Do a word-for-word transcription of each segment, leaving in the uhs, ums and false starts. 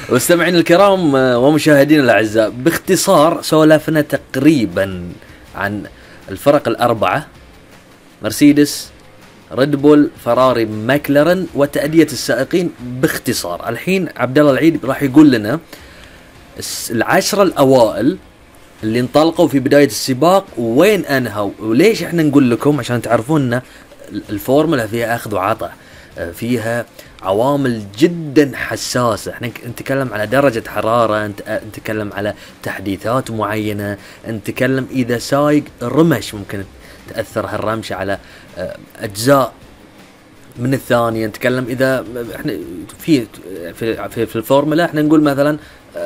مستمعين الكرام ومشاهدين الأعزاء، باختصار سولفنا تقريبا عن الفرق الأربعة: مرسيدس، ريد بول، فراري، ماكلارن، وتأدية السائقين باختصار. الحين عبد الله العيد راح يقول لنا العشرة الأوائل اللي انطلقوا في بداية السباق وين أنهوا. وليش احنا نقول لكم؟ عشان تعرفون ان الفورمولا فيها أخذ وعطاء، فيها عوامل جدا حساسة. احنا نتكلم على درجة حرارة، نتكلم على تحديثات معينة، نتكلم إذا سايق رمش ممكن تأثر هالرمشة على أجزاء من الثانية. نتكلم إذا احنا في في في, في الفورمولا احنا نقول مثلا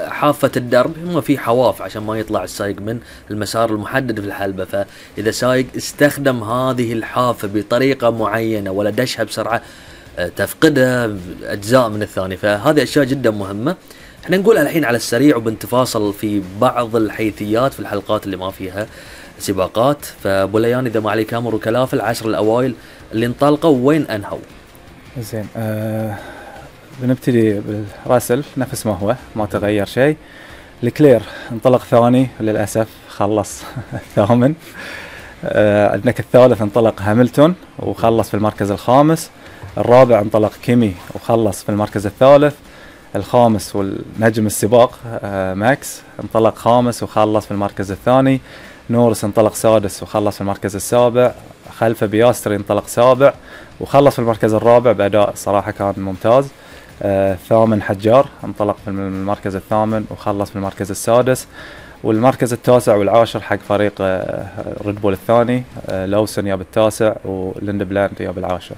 حافة الدرب، ما في حواف عشان ما يطلع السايق من المسار المحدد في الحلبة، فإذا سايق استخدم هذه الحافة بطريقة معينة ولا دشها بسرعة تفقدها أجزاء من الثانية، فهذه أشياء جدا مهمة. احنا نقولها الحين على السريع وبنتفاصل في بعض الحيثيات في الحلقات اللي ما فيها سباقات. فبوليان إذا ما عليك أمر وكلافة، العشر الأوائل اللي انطلقوا وين أنهوا؟ زين، أه بنبتدي بالراسل نفس ما هو، ما تغير شيء. لكلير انطلق ثاني للأسف، خلص الثامن. أه عندك الثالث انطلق هاملتون وخلص في المركز الخامس. الرابع انطلق كيمي وخلص في المركز الثالث. الخامس والنجم السباق أه ماكس انطلق خامس وخلص في المركز الثاني. نورس انطلق سادس وخلص في المركز السابع. خلفه بياستري انطلق سابع وخلص في المركز الرابع بأداء صراحة كان ممتاز. آه ثامن حجار انطلق في المركز الثامن وخلص في المركز السادس. والمركز التاسع والعاشر حق فريق آه ريد بول الثاني، آه لوسن يا بالتاسع وليند بلاند يا بالعاشر.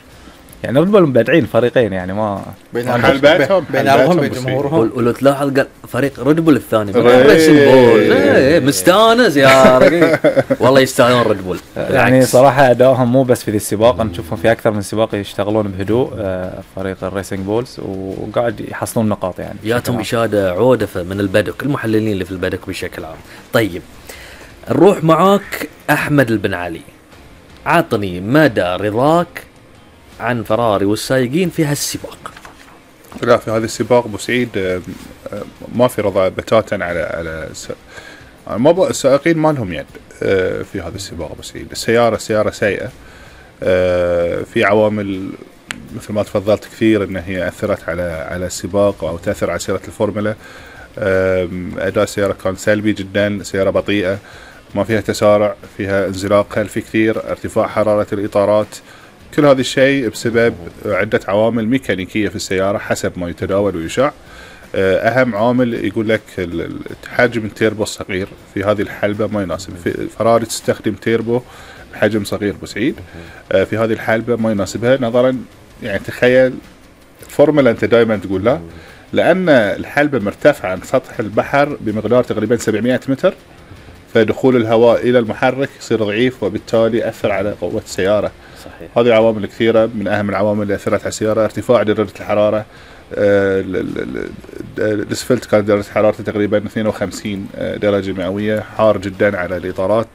يعني ريد بول مبدعين فريقين، يعني ما بين حلباتهم بين عرضهم بين جمهورهم. ولو تلاحظ قال فريق ريد بول الثاني ريسنج بول ايه مستانس يا رجل والله يستاهلون ريد بول. يعني صراحه ادائهم مو بس في ذي السباق، نشوفهم في اكثر من سباق يشتغلون بهدوء آه فريق الريسنج بولز وقاعد يحصلون نقاط. يعني ياتهم اشاده عودفه من البدك، المحللين اللي في البدك بشكل عام. طيب نروح معاك احمد البن علي، عطني مدى رضاك عن فراري والسايقين في هالسباق. لا، في هذا السباق بوسعيد ما في رضا بتاتا على على ما السائقين ما لهم يد في هذا السباق بوسعيد. السيارة سيارة سيئة، في عوامل مثل ما تفضلت كثير ان هي اثرت على على السباق او تاثر على سيارة الفورمولا. اداء السيارة كان سلبي جدا، سيارة بطيئة ما فيها تسارع، فيها انزلاق خلفي كثير، ارتفاع حرارة الاطارات. كل هذا الشيء بسبب عدة عوامل ميكانيكية في السيارة حسب ما يتداول ويشاع. أهم عامل يقول لك حجم التيربو الصغير في هذه الحلبة ما يناسب. فراري تستخدم تيربو بحجم صغير بسعيد، في هذه الحلبة ما يناسبها نظرا. يعني تخيل فورمولا أنت دائما تقول لا، لأن الحلبة مرتفعة عن سطح البحر بمقدار تقريبا سبعمائة متر، فدخول الهواء إلى المحرك يصير ضعيف وبالتالي يأثر على قوة السيارة. صحيح. هذه عوامل كثيرة، من أهم العوامل اللي أثرت على السيارة ارتفاع درجة الحرارة. الاسفلت كانت درجة حرارته تقريبا اثنين وخمسين درجة مئوية، حار جدا على الإطارات.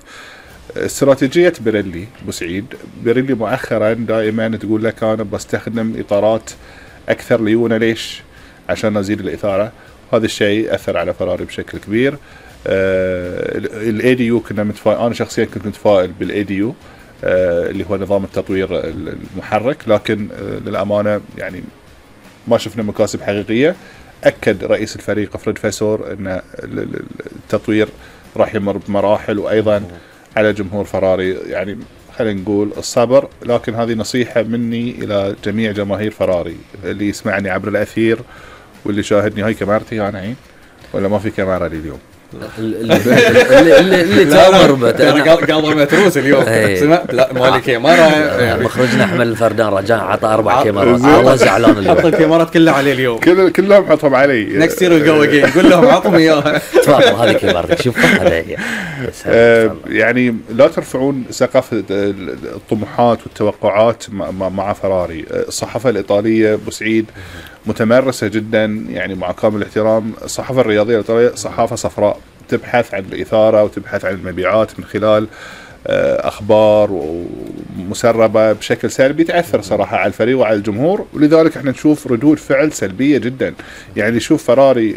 استراتيجية بيريلي بوسعيد، بيريلي مؤخرا دائما تقول لك أنا بستخدم إطارات أكثر ليونة. ليش؟ عشان أزيد الإثارة. هذا الشيء أثر على فراري بشكل كبير. الاي دي يو كنا متفائل، أنا شخصيا كنت متفائل بالاي دي يو اللي هو نظام التطوير المحرك، لكن للأمانة يعني ما شفنا مكاسب حقيقية. أكد رئيس الفريق فريد فاسور أن التطوير راح يمر بمراحل، وأيضا على جمهور فراري يعني خلينا نقول الصبر. لكن هذه نصيحة مني إلى جميع جماهير فراري اللي يسمعني عبر الأثير واللي شاهدني. هاي كاميرتي أنا عين ولا ما في كاميرا لي اليوم؟ اللي اللي اللي تامر انا قاضي متروس اليوم. سمعت لا مالك كاميرا. مخرجنا احمد الفردان رجاء عطى اربع كاميرات، الله زعلان اليوم. حط الكاميرات كلها عليه اليوم، كل كلهم حطهم علي. نكست يير جو اجين، قول لهم عطهم اياها. تفضل هذه كاميرتك، شوف هذا هي. يعني لا ترفعون سقف الطموحات والتوقعات مع فراري. الصحافة الإيطالية بوسعيد متمرسة جدا، يعني مع كامل الاحترام. الصحافة الرياضية الإيطالية صحافة صفراء، تبحث عن الإثارة وتبحث عن المبيعات من خلال أخبار ومسربة بشكل سلبي تأثر صراحة على الفريق وعلى الجمهور، ولذلك احنا نشوف ردود فعل سلبية جدا. يعني شوف فراري